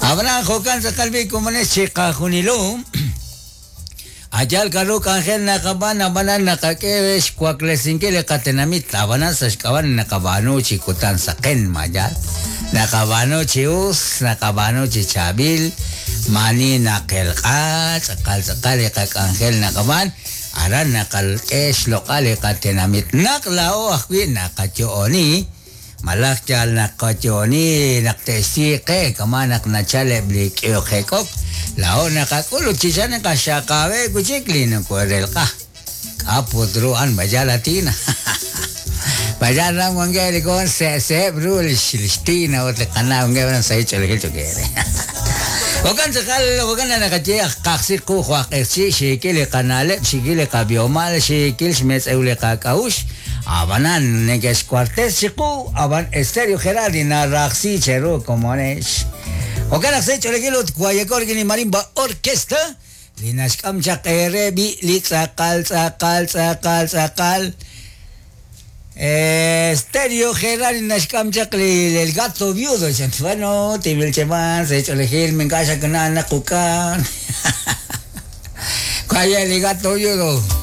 Ab'anan jo'kan tz'aqal b'i' komonex chiqajunilo. A' yaal k'a'ru k'anjel naqab'aan, ab'anan naqak'e re xwaklesinkil li qatenamit, ab'anan sa' xk'ab'a' li naqab'aanu chi kutan saqen, ma yaal? Naqab'aanu chi us, naqab'aanu chi chaab'il, maa'ani naqelq'a, tz'aqal tz'aqal li qak'anjel naqab'aan, aran naqak'e xloq'al li qatenamit naq laa'o ajwi' naqayo'oni. Malaj yal naqayo'oni naq te'xsi qe kama' naq nachal eb' li k'ehok jek'ok, laa'o naqak'ul ut chi sa' naqaxaqab'eb' wi' chik li nokoorelq'a. K'a' put ru a'an b'ayal a Tina? B'ayal ran wankeb' li komon se'se'eb' ru li xTina ut li qana' wankeb' aran sahil ch'oolejil cho'q eere. Jo'kan tz'aqal, jo'kan naq naqaye aj qajsi qu jo' aj q'eqchi', xiikil li qana'leb', xiikil li qab'ihomal, xiikil xmetz'ew li qak'a'uxl, Ab'anan, neke'xwartes chiqu, ab'an Stereo Gerardi narajsi cheru komonex. Jo'kan naq sa' ch'oolejil ut Guayacol rik'in li Marimba Orquesta, li naxk'am chaq eere b'i' li tz'aqal, tz'aqal, tz'aqal, tz'aqal. Stereo Gerardi naxk'am chaq li El Gato Viudo. Bueno, timil cheman, sa' ch'oolejil, mink'a' xakana' naq uk'an. Kaya li Gato Viudo.